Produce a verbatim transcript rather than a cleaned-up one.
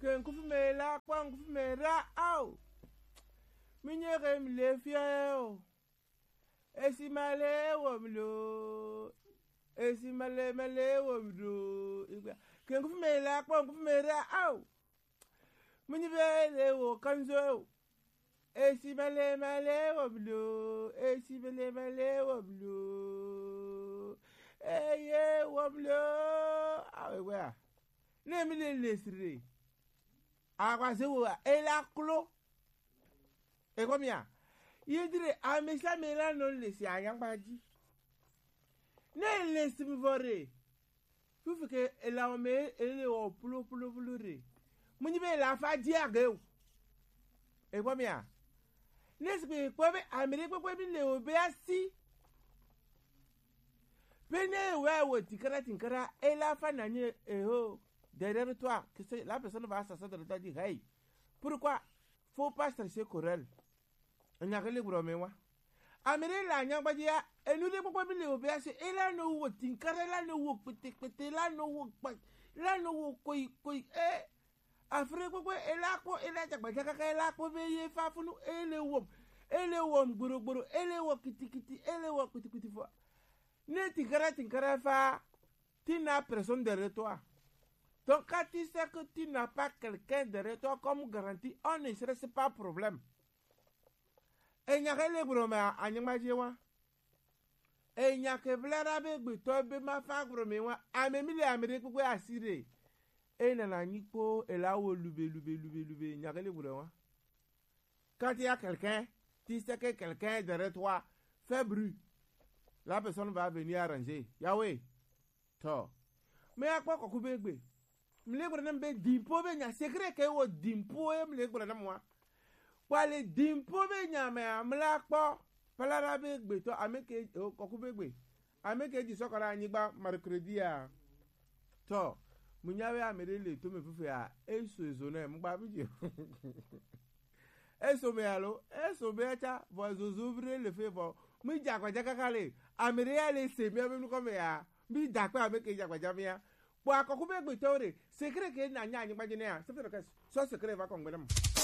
Ke ŋkufu me la kpɔ ŋkufu me ra ao. Mi nye ke mi le fia o. Esi ma le wo mi lo. Esi ma le ma le wo mi lo. Igba. Ke ŋkufu me la kpɔ ŋkufu me ra ao. Mi nye be le wo kanzo o. Esi ma le ma le wo mi lo. Esi ma le ma le wo mi lo. Eye wo mi lo. Awe wa. Ne mi le lesire. Agba se wo e la klo. E ko mi a. Ye dire amesa me la no lesi anyangba ji. Ne lesi mi vore. Fufu ke ela o me ele o pulo pulo pulo re. Munyi be la fa di age o. E ko mi a. Ne si pe ko be amere pe ko bi le o be asi. Pe ne we wo tinkara tinkara ela fa na nye e ho. Derrière toi, que c'est la personne va s'asseoir derrière toi et dire, hey, pourquoi? Faut pas chercher querelle. Enya ke le gblɔ me wa. Amere la nyagbaji ya, enu de kpɔkpɔ bi le o be asi, ela no wo tinkara, ela no wo kpete kpete, ela no wo kpa, ela no wo koi koi, eh. Afre kpɔkpɔ, ela kpɔ, ela jagbaja kaka, ela kpɔ be ye fa funu, ele wo, ele wo gboro gboro, ele wo kiti kiti, ele wo kpiti kpiti fo. Ne tinkara tinkara fa, tu n'as personne derrière toi. Donc quand tu sais que tu n'as pas quelqu'un derrière toi comme garantie, on ne serait pas problème. Enya ke le gblɔ me anyigba dzi wa. Enya ke bla ɖa be gbetɔ be ma fa gblɔ me wa. Ame mi le ame ɖe kpekpe asi ɖe. Ena na nyi kpo ela wo lube lube lube lube nya ke le gblɔ wa. Quand il y a quelqu'un, tu sais que quelqu'un est derrière toi, fais bruit. La personne va venir arranger. Yahweh. Tɔ. Me akpɔ kɔku be gbe. Mle gblɔ nam be dimpo be nya secret ke wo dimpo e mle gblɔ nam wa. Kpɔ le dimpo be nya me amla kpɔ. Palara be gbe tɔ ame ke o kɔku be gbe. Ame ke di sɔkɔ ɖe anyigba mercredi a. Tɔ. Mu nya be ame ɖe le to me fifia. Eso ezo ne mu gba bi dzi. Eso me alo, eso me tsa, vɔ zozo vi ɖe le fe vɔ. Mi dze agbadza kaka le, ame ɖe ya le se mía be nukɔ me ya, mi da akpe ame ke dze agbadza mía. Kpɔ akɔku be gbetɔwo ɖe, secret ke na nya anyigba dzi ne ya, c'est fait que sɔ secret va kɔ ŋgbe ne me.